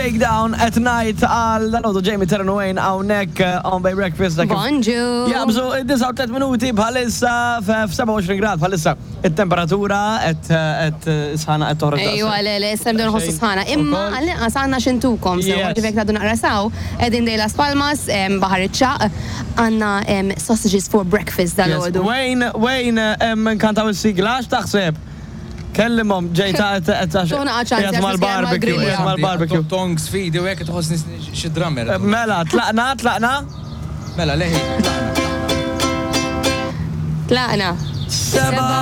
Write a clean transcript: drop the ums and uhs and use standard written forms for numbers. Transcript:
Shakedown at Night għal dal Jamie Terran Wayne hawnhekk on Bay Breakfast. Bonġu. Jabżu id-39 minuti bħalissa f-27 grad bħalissa. Il-temperatura qed sħana qed toħroġ. Ejwa, le, le, issa nibdew nħossu sħana. Imma għall-inqas għandna x'intukom. Sew, ġifieri ngħidu naqra saw, qegħdin dej Las Palmas, Baħar iċ-Ċagħaq, għandna sausages for breakfast dalgħodu. Wayne, Wayne, nkantaw is-sigla, x'taħseb? Kellimhom ġejta qed qiegħed mal-barbecue, qiegħed mal-barbecue. Tongs fidi u hekk tħossni xi drummer. Mela, tlaqna, tlaqna? Mela, leħi, tlaqna. Tlaqna. Seba.